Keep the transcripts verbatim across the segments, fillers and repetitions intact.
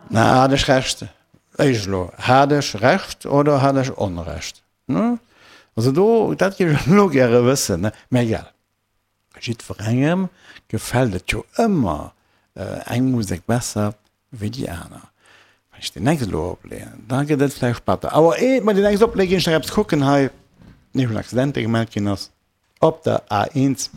Na, hat ech Recht? Éischt elo, hat ech Recht oder hat ech Onrecht? Ne? Also do, dat géif ech elo gäre wëssen, ne? Mä egal, jiddwerengem gefält et jo ëmmer eng Musek besser wéi déi aner. Wann ech déi nächst elo opleeën, da gëtt et vläicht batter. Awer eet mer déi nächst opleeën, ginn ech nach eppes kucken hei, nämlech en Accident, dee gemellt ginn ass op der A eins.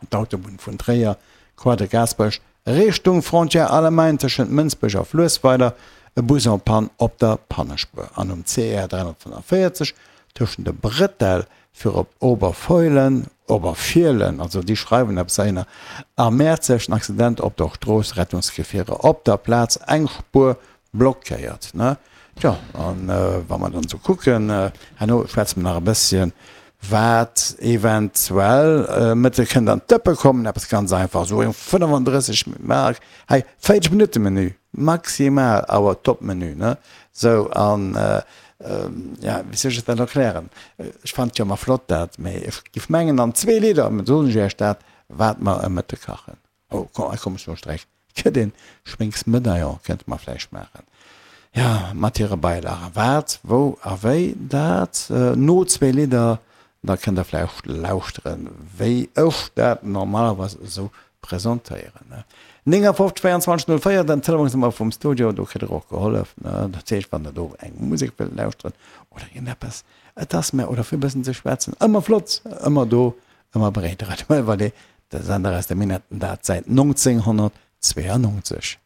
D'Autobunn vun Tréier, Croix de Gaasperech, Richtung Frontière Allemagne tëschent Mënsbech a Fluessweiler, e Bus en panne op der Pannespuer an um C R dräihonnertfënnefenvéierzeg tëschent de Bretelle fir op Oberfeulen, Oberfielen, also déi schreiwen eppes heihinner, a Mäerzeg en Accident op der Strooss, Rettungsgefierer op der Plaz, eng Spuer blockéiert. Tjo, an wa mer dann esou kucken, herno schwätze mer nach e bësschen, wat eventuell Mëtte kënnt an d'Dëppe kommen, eppes ganz einfach, esou eng fënnefandrësseg, hei véierzeg Minutte Menü, maximal, awer Top-Menü, ne? Sou, an ja, wéi soll ech dat erklären? Ech fannen et jo ëmmer flott dat, mee ech géif mengen an zwee Lidder soen ech iech dat, wat mer e Mëtte kachen. Oh, komm, hei komm ech no Streck. Gëtt een Schwéngsmedaillon kënnte mer vläicht maachen, jo, mat hire Beilagen. Wat, wou a wéi, dat no zwee Lidder. Da kënnt der vläicht lauschteren, wéi ech dat normalerweis esou presentéieren. néngafofzeg véierundzwanzeg null véier, den Telefonsnummer vum Studio, do kritt der och gehollef. Dat heescht, wann der do eng Musek wëllt lauschteren oder iergendeppes, et ass mir, oder fir e bëssen ze schwätzen, ëmmer flott, ëmmer do, ëmmer bereet. Radio Möllervallée, de Sender aus de Minetten, dat säit nonzénghonnertzweeanonzeg.